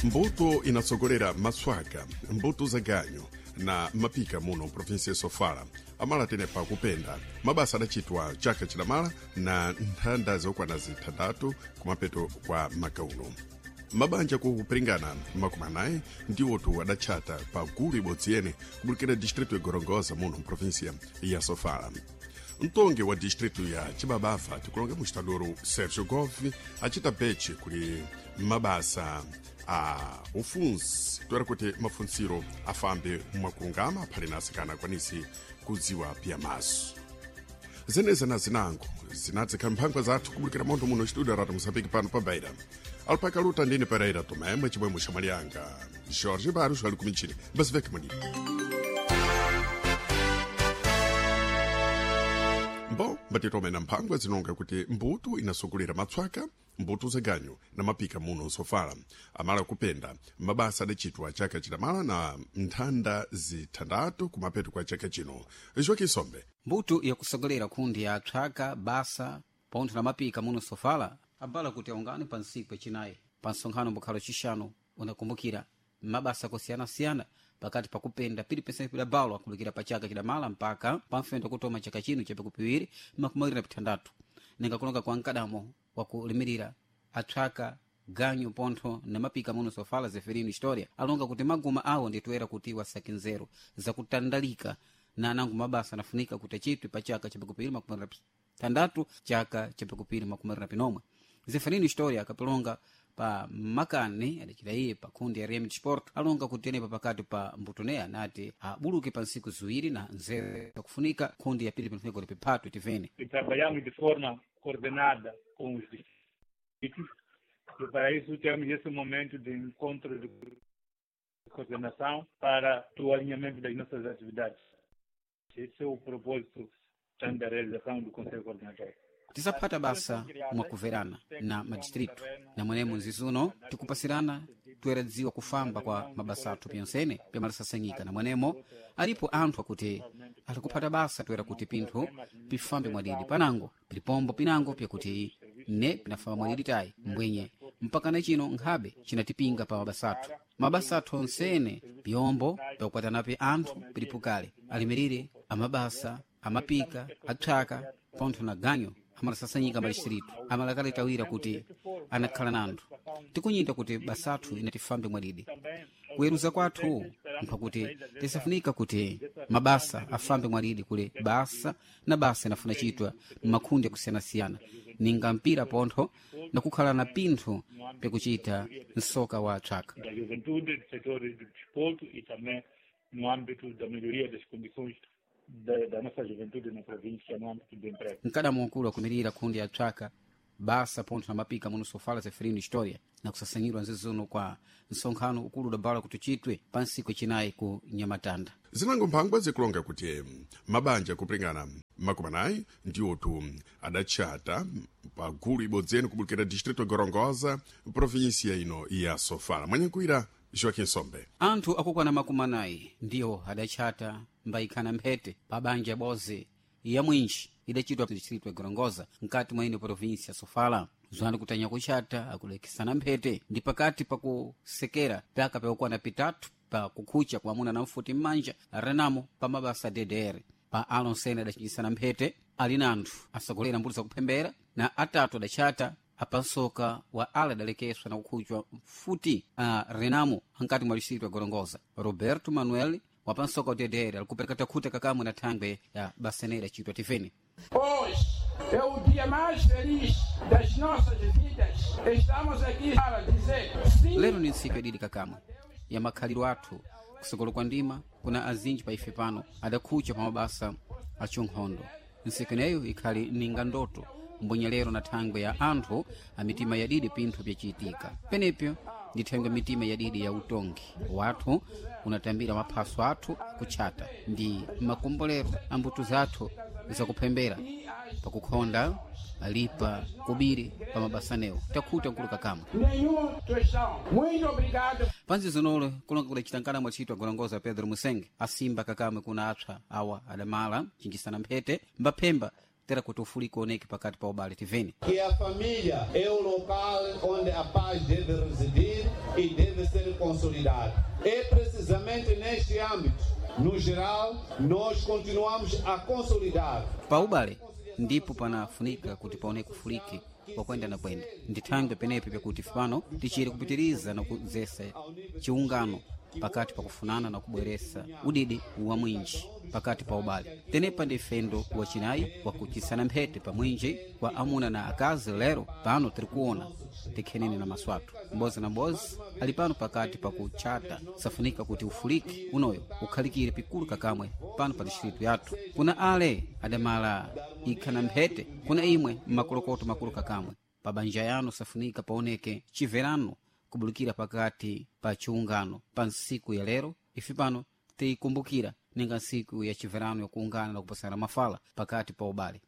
Mbuto inatsogolera matswaka, mbuto za ganyu na mapika muno mprovinsi ya Sofala amala tenepa kupenda mabasa adachitwa chaka chidamala na nthanda zokwana zithanthatu kumapeto kwa makauno. Mabanja kupiringana 40 ndiwotu adatchata pa gulu ibodzi yene kubulikira distrito ya Gorongosa muno mprovinsia ya Sofala. Mtongi wa distrito ya Chibabava, tikulonga mustadoro Sergio Gove, acita beche kuli mabasa a ufunzi toera kuti mafunsiro afambe mwakulungama aphale na asikana akwanisi kudziwa pia maso. Zeneza na zinango zinadzikhala mphangwa zathu kubulikira montho muno studio Radio Moçambique pano pa Beira. Alpaka luta ndine Pereira Tomé, mwechimwemwe xamali yanga Jorge Barros ali kumichini basiveke manini. Mbo mbatitomena mphangwa zinonga kuti mbuto inasogolera matswaka, mbuto za ganyu na mapika muno nsofala amala kupenda mabasa adachitwa chaka chidamala na nthanda zithanthatu kumapeto kwa chaka chino. Joaquim Sombe. Mbuto yakusogolera kundi ya tswaka basa pontho na mapika muno sofala abala kuti aungane pa ntsiku yacinayi pa nsonkhano mbukhalo cixanu unakumbukira mabasa akosiyanasiyana pakati pakupenda pili pidabalo akulikira pa chaka chidamala mpaka pamfendo kutoma chaka chino cha pikupiri 26 ninga kulonga kwa mkadamo wakulimirira atswaka ganyu pontho na mapika muno sofala Zeferino Historia alonga kuti maguma awo nditoera kuti wasake nzeru zakutandalika na anango mabasa anafunika kuti achitwe pa chaka cha pikupiri 26 chaka cha pikupiri 29. Zeferino Historia akapilonga pa makani adacita iye pa kundi ya RM Sport alonga kuti tenepa pakati pa mbutoneya nati abuluke pa ntsiku ziwiri na nzeru zakufunika kundi ya pili pinafunika kuti piphatwe tivene. E trabalhamos de forma coordenada com os distritos e para isso temos esse momento de encontro de coordenação para o alinhamento das nossas atividades. Esse é o propósito tanto da realização do Conselho Coordenador. Tisaphata basa mwakuverana na madistritu na mwenemo nzizuno tikupasirana toyeradziwa kufamba kwa mabasa athu pyonsene pyamalasasanyika na mwenemo alipo anthu akuti alikuphata basa toyera kuti pinthu pifambe mwadidi panango pilipombo pinango pyakuti ne pinafamba mwadidi tayi mbwenye mpaka na chino nkhabe cinatipinga pa mabasa athu. Mabasa athu onsene pyombo pyakukwatanapi anthu pilipukale alimirire amabasa amapika atswaka pontho na ganyo amalasasanyika madistritu amalakaletawira kuti anakhala na anthu tikunyita kuti basathu inatifambe mwadidi kuweruza kwathu mphakuti tisafunika kuti mabasa afambe mwadidi kule basa na basa inafuna chitwa m'makundi akusiyanasiyana ninga mpira pontho na kukhala na pinthu pyakuchita msoka wa tswaka Da juventude, do setor do desporto e também no âmbito da melhoria das condições da nossa juventude na província, no âmbito do emprego. Mkadamo mkulu akumirira kundi ya tswaka basa pontho na mapika muno sofala Zeferino Historia na kusasanyirwa nzizuno kwa nsonkhano ukulu udabala kuti uchitwe pa ntsiku yacinayi ku Nyamatanda. Zinango mphangwa zikulonga kuti mabanja kupiringana 40 ndiwotu adatchata pa gulu ibodzi yene kubulikira distrito ya Gorongosa provinsia ino ya Sofala. Mwanyankuira Joaquim Sombe. Anthu akukwana 40 ndiwo adatchata mbayikhana mphete pa banja boze ya mwinji idachitwa distrito ya Gorongosa mkati mwa ino provinsia ya Sofala. Zwana kutanya kuchata akulekesana mphete ndi pakati pakusekera pyaka pyakukwana pitatu pa kukhucha kwa amuna na mfuti m'manja renamo pa mabasa DDR pa alonsene adachinjisana mphete ali na anthu asogolera mbuto zakuphembera na atatu adachata apansoka wa ala adalekeswa na kukhuchwa mfuti a renamo ankati mwa distrito ya Gorongosa. Roberto Manuel wapansoka wa DDR alikupereka takhuta kakamwe na thangwe ya basenera chitwa tivene. Hoje é o dia mais feliz das nossas vidas. Estamos aqui para dizer sim. Lero ni ntsiku yadidi kakamwe ya makhaliro athu kusokolo kwa ndima kuna azinji pa ife pano adakhucha pa mabasa achinkhondo. Ntsiku ineyo ikhali ninga ndoto mbwenyelero na thangwe ya anthu a mitima yadidi pinthu pyacitika penepyo ndi thangwe mitima yadidi ya utongi wathu unatambira maphaso athu kutchata ndi makombolero a mbuto zathu zakuphembera pakukhonda alipa kubiri pa mabasanewo takhuta nkulu kakamwe. Nenhum tostão. Muito obrigado. Panzi zinolo kulonga kudacita nkana mwacitwa Gorongosa Pedro Musenge asimba kakamwe kuna apsa awa adamala chinjisana mphete mbaphemba Tera kuti ufuliki oneke pakati pa ubale tiveni. Que a família é o local onde a paz deve residir e deve ser consolidada. É precisamente neste âmbito, no geral, nós continuamos a consolidar. Pa ubale ndipo panafunika kuti paoneke ufuliki wakwenda na kwenda. Ndi thangwe penepe pakuti pano tichiri kupitiriza na kudzesa chiungano pakati pa kufunana na kubweresa udidi wa mwinji pakati pa ubale. Tenepa ndi fendo wacinayi wakuchisana mphete pa mwinji wa amuna na akazi. Lero pano tiri kuona tikhenene na maso athu mbozi na mbozi ali pano pakati pa kuchata. Safunika kuti ufuliki unoyo ukhalikire pikulu kakamwe pano pa distritu yathu. Kuna ale adamala ikha na mphete, kuna imwe mmakolokoto makulu kakamwe pa banja yanu. Safunika paoneke chiverano kubulikira pakati pa chiungano pa nsiku ya lero. Ife pano tikumbukira ninga nsiku ya chiverano yakuungana na kupasana mafala pakati pa ubale.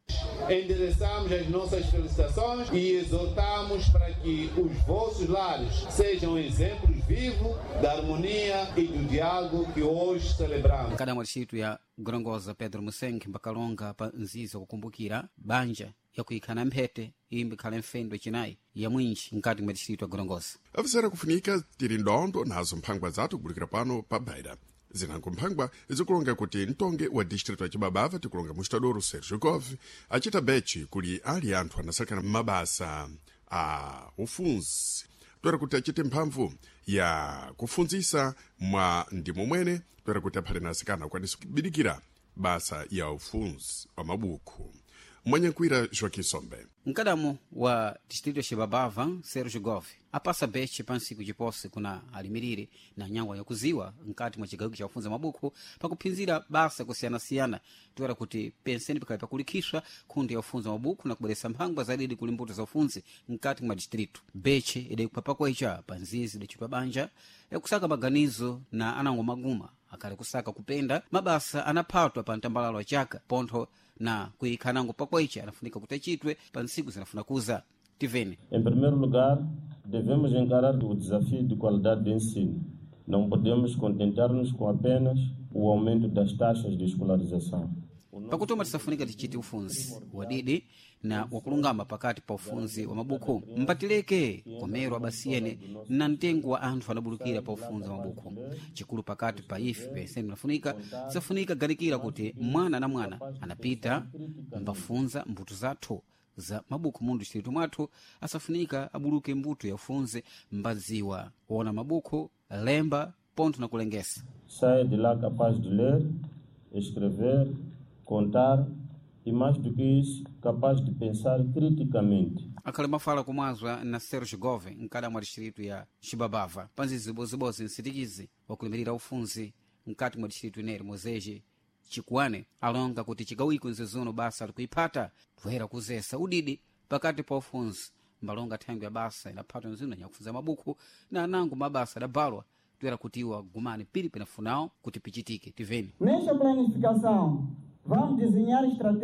Endereçamos as nossas felicitações e exortamos para que os vossos lares sejam exemplos vivos da harmonia e do diálogo que hoje celebramos. Kada mwa distritu ya Gorongosa, Pedro Musengi mbakalonga pa nziza kukumbukira banja yakuikhana mphete imbi khale mfendo chinayi ya mwinji mkati mwa distritu ya Gorongosa. Avisera kufunika tiri ndondo nazo mphangwa zathu kubulikira pano pa Beira. Zinango mphangwa zikulonga kuti mtonge wa distritu ya Chibabava tikulonga mustadoro Sergio Gove acita bechi kuli ali anthu anasalekana mabasa a ufunzi toera kuti achite mphamvu ya kufunzisa mwa ndimo mwene, toera kuti aphale na asikana akwanise kubidikira basa ya ufunzi wa mabuku. Mwanyankwira Joaquim Sombe. Mkadamo wa distrito ya Xibabava, Sergio Gove apasa beche pa nsiku cipose kuna alimirire na nyangwa yakuziwa nkati mwa cigawiko ca kufunza mabuku pakuphinzira basa kusiyanasiyana, toera kuti penseni pikali pakulikhiswa khundi ya kufunza mabuku na kubweresa mphangwa zadidi kuli mbuto za ufunzi nkati mwa distrito. Beche idayikupha pakwecha pa nzizi idacitwa banja yakusaka maganizo na anango maguma akali kusaka kupenda mabasa anaphatwa pa mtambalalo wa chaka pontho na kuikhanango pakwecha anafunika kuti achitwe pa ntsiku zinafuna kuza. Tiveni. Em primeiro lugar, devemos encarar o desafio de qualidade de ensino. Não podemos contentar-nos com apenas o aumento das taxas de escolarização. Pakutoma tisafunika tichite ufunzi wadidi na wakulungama pakati pa ufunzi wa mabuku, mpatileke komero abasiyene na mtengo wa anthu anabulukira pa ufunzi wa mabuku. Chikulu pakati pa ife penseni nafunika tisafunika ganikira kuti mwana na mwana anapita mbafunza mbuto zathu za mabuku mundu distritu mwathu asafunika abuluke mbuto ya ufunzi mbadziwa kuona mabuku lemba pontho na kulengesa. Saia de lá capaz de ler, escrever, contar e, mais do que isso, capaz de pensar criticamente. Akhale mafala kumwazwa na Sergio Gove mkada mwa distritu ya Xibabava panzizi zibozibozi nsitikizi wakulimirira ufunzi mkati mwa distritu ineri mozeji Chikuane alonga kuti chigawiko nzizuno basa likuiphata toera kuzesa udidi pakati pa ufunzi mbalonga thangwi ya basa inaphatwa nzino nyakufunza mabuku na anango mabasa adabalwa toera kuti iwo agumane pili pinafunawo kuti pichitike. Tiveni. Nesta planificação, vamos desenhar estratégias